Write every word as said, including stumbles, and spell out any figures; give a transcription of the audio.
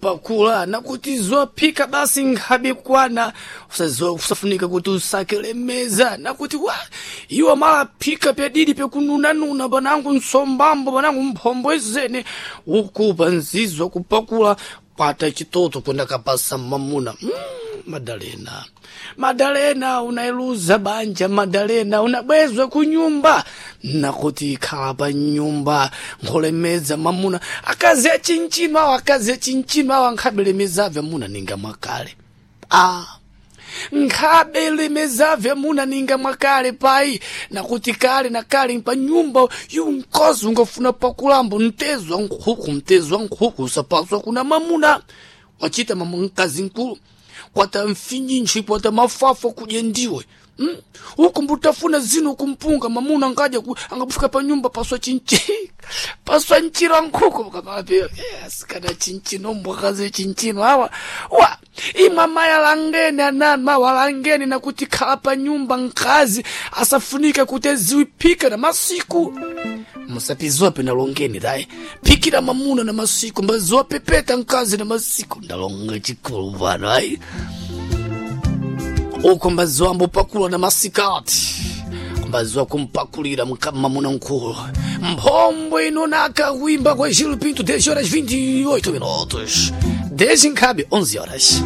Pakula nakuti zophika basi nkhabe kwana usazo usafunika kuti usakele meza nakuti wa iwo malaphika pyadidi pyakununanuna panangu msombambo panangu mphombo izene ukupa nzizwa kupakula kwata chitoto kwenda kapasa mamuna mm, Madalena, Madalena, unailuza banja. Madalena, unabwezwa kunyumba nakuti ikhala pa nyumba nkholemedza mamuna. Akazi achinchino awo, akazi achinchino awo ankhabelemezabve amuna ninga mwakale. Ah, nkhabelemezabve amuna ninga mwakale pai nakuti kale na kale pa nyumba yu mkazi ungafuna pakulambo mtezo wa nkhuku, mtezo wa nkhuku usapaswa kuna mamuna wachita mama mkazi nkulu kwata mfinyinji kwata mafafa kudya ndiwe mm? Uku mbutafuna zino kumpunga mamuna ngaja ku, angabufika pa nyumba paswa chinchi paswa nchira nkhuku kamape yes, kana chinchino mbwakazi chinchino awa wa imwe mayalangeni ananu mawalangeni nakuti khala pa nyumba nkazi asafunike kuti aziwiphika na masiku musapizope nalongeni tayi phikira mamuna na masiku mbazopepeta mkazi na masiku ndalonga chikulu pano ayi uko mbaziwa ambopakula na masikati mbaziwa kumpakulira mka- mamuna nkulu mphombo ino nakawimba kwa Gil Pinto dez horas vinte e oito minutos dez nkhabe onze horas.